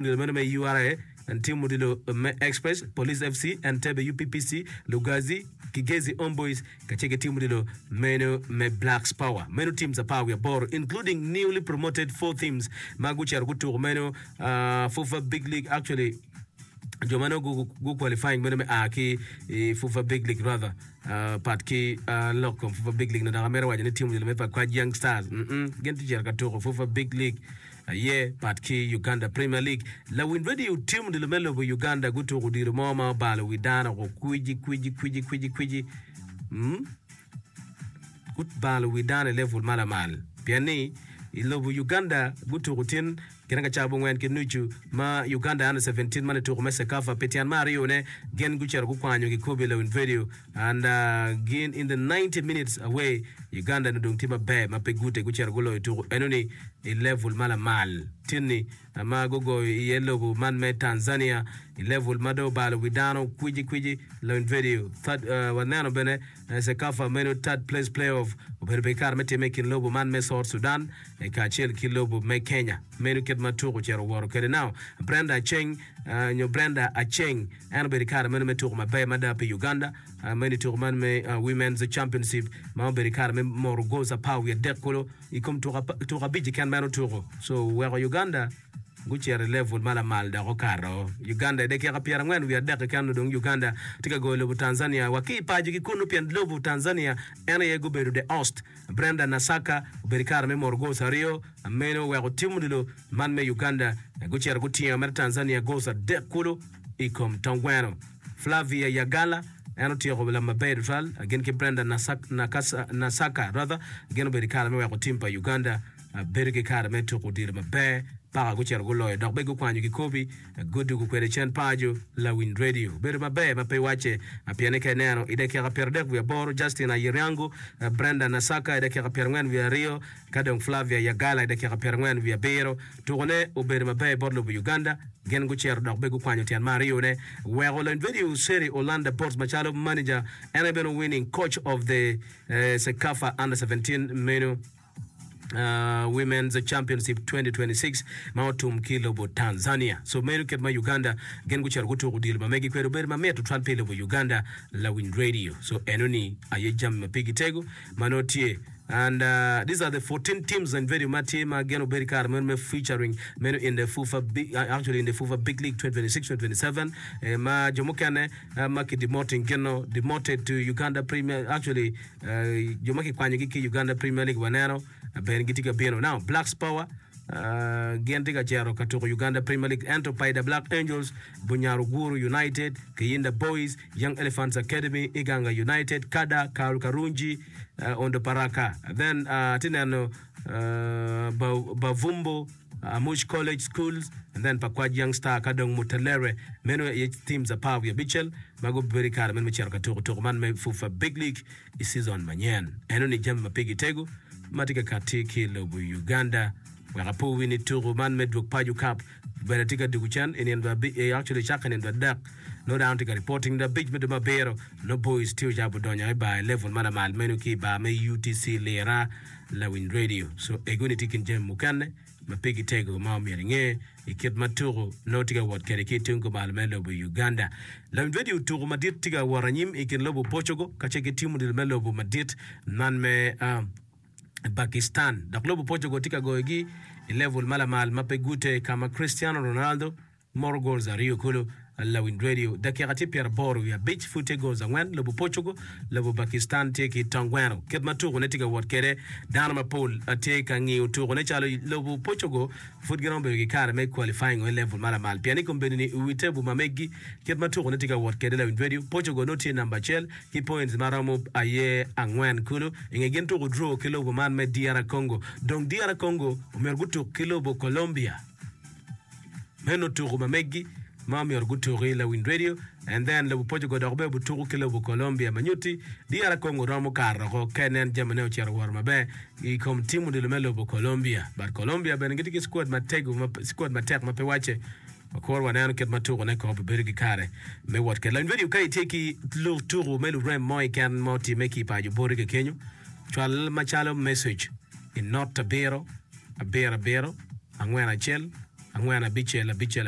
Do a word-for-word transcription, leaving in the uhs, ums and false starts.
Odilo meno me U R A, tim odilo me Express, Police F C, Entebbe U P P C, Lugazi, Kigezi Homeboyz kacel ki tim odilo meno me Blacks Power. Meno teams apar wiye aboro, including newly promoted four teams ma gucito gutuko meno uh, FUFA Big League. Actually, jo ma nongo gu qualifying meno me a ki i FUFA Big League, rather uh, pat ki uh, lok kom FUFA Big League no dok amito waco ni tim odilo me Pakwach Young Stars mm -mm, gin tye cito ka tuko FUFA Big League aye pat ki Uganda Premier League. Lawiny radio, tim odilo me lobo Uganda gutuko odilo mo ma obalo wi dano ko kwiji kwiji kwiji kwiji kwiji mm? Gubalo wi dano i level ma lamal pien ni i lobo Uganda gutuko tin kine ka cabo ngwen ki nucu ma Uganda Under seventeen man i tuko me CECAFA pi tyen me aryone gin gucito gukwanyo kikobi. Lawiny radio, and uh, gin in the ninety minutes away Uganda ni dong tye maber ma pe gute gucito guloyo tuko enoni i level ma lamal tinni ma gugoyo iye lobo man me Tanzania i level ma dong obalo wi dano kwiji kwiji. Lawiny radio, third, uh, waneno bene uh, CECAFA meno third place playoff obedo pe kare me time i kin lobo man me South Sudan eh, kacel ki lobo me Kenya. Meno kit ma tuko ocito woto kwede. Now Brenda Acheng uh, nyo Brenda Acheng en obedo i kare meno me tuko maber mada pi Uganda uh, meno i tuko man me uh, Women's Championship ma obedo i kare me moro goals apar wiye adek kulu i kom tuko apa- tuko abic keken ma en otuko, so weko Uganda gucito i level ma lamal dok okato Uganda i dakika pyerangwen wiye adek keken. Dong Uganda tye ka goyo lobo Tanzania wa ki i paco ki kunu pien lobo Tanzania en aye gubedo the host. Brenda Nasaka obedo i kare me moro goals aryo meno weko tim odilo man me Uganda gucito gutingo mere Tanzania goals adek kulu i kom tongweno. Flavia Yagala en otyeko lam maber tutwal gin ki Brenda Nasak, Nakasa, Nasaka rather gin obedo i kare me weko tim pa Uganda uh, bedo ki kare me tuko odilo maber paka gucito guloyo dok be gukwanyo kikobi gudugo kwede cen paco. Lawiny radio, bedo maber ma pe wacce pieni ka ineno i dakika pyeradek wiye aboro Justin Ayeriango, Brenda Nasaka i dakika pyerangwen wiye aryo ka dong Flavia Yagala i dakika pyerangwen wiye abiro. Tukone obedo maber bot lobo Uganda, gin gucito dok be gukwanyo tyen me aryone weko lawiny radio Seri Olanda Bots macalo manager en aye bene winning coach of the eh, CECAFA Under seventeen meno uh, Women's Championship twenty twenty-six ma otum ki lobo Tanzania. So meno kit ma Uganda gin gucito gutuko odilo ma megi kwede obedo mamit tutwal pi lobo Uganda. Lawiny radio, so enoni aye jami ma pigi tego ma nongo tye. And uh, these are the fourteen teams and very ma tye ma gin obedo i kare meno me featuring meno in the FUFA Big, uh, actually in the FUFA Big League twenty twenty-six twenty twenty-seven eh, ma jo mukene uh, ma ki demoting gino demoted to Uganda Premier, actually uh, jo ma kikwanyogi ki Uganda Premier League waneno uh, bene gitye ka bino. Now Blacks Power Uh, gin tye ka cito ka tuko Uganda Premier League, ento Paida Black Angels, Bunyaruguru United, Kiyinda Boys, Young Elephants Academy, Iganga United, Kada, Karl Karungi, uh, Ondo Paraka, then uh, tye neno uh, Bavumbo Amuch College Schools and then Pakwach Young Star ka dong Mutalere. Meno aye teams apar wiye abicel ma gubedo i kare meno me cito ka tuko tuko man me FUFA Big League i season manyen. Eno ni jami ma pigi tego ma tye ka kati ki i lobo Uganda. Wek apo wi ni tuko man me dwog paco cup bene tye ka dugo cen i nino abic, actually cakke i nino adek nongo dano tye ka reporting nino abic me dwe me abiro nongo boys tye ocako donyo i bar i level ma lamal meno ki i bar me U T C Lira. Lawiny radio, so egoni tye kin jami mukene ma pigi tego ma omyero inge i kit ma tuko nongo tye ka wot kwede ki tung kumalo me lobo Uganda. Lawiny radio, tuko madit tye ka wot anyim i kin lobo Portugal kacel ki tim odilo me lobo madit man me uh, Pakistan. Dok lobo Portugal tye ka goyogi i level ma lamal ma pe gute ka ma Cristiano Ronaldo moro goals aryo kulu. Lawiny radio, dakika tye pyeraboro wiye abic pud tye goals angwen lobo Portugal, lobo Pakistan tye ki tongweno. Kit ma tukone tye ka wot kwede, dano mapol tye ka ngiyo tukone calo lobo Portugal pud giromo bedo ki kare me qualifying i level ma lamal pien i kombeddi ni i wi table ma meggi kit ma tukone tye ka wot kwede, lawiny radio, Portugal nongo tye namba acel ki points maromo aye angwen kulu i nge gin tuko draw ki lobo man me D R Congo. Dong D R Congo omyero gutuk ki lobo Colombia, meno tuko ma meggi ma omyero gutuki. Lawiny radio, and then lobo Portugal dok bene butuko ki lobo Colombia ma nyutti D R Congo romo karo oko ka inen jamine ocito woro maber i kom tim odilo me lobo Colombia. But Colombia bene gitye ki squad matego ma squad matek ma pe wacce. Wakor waneno kit ma tukone ko obedo ki kare me wot kwede. Lawiny radio, ka itye ki tuko me lurem mo keken ma otimme ki i paco boti kekenyo, cwal macalo message i not abiro abiro abiro angwen acel. angwen abicel abicel abic.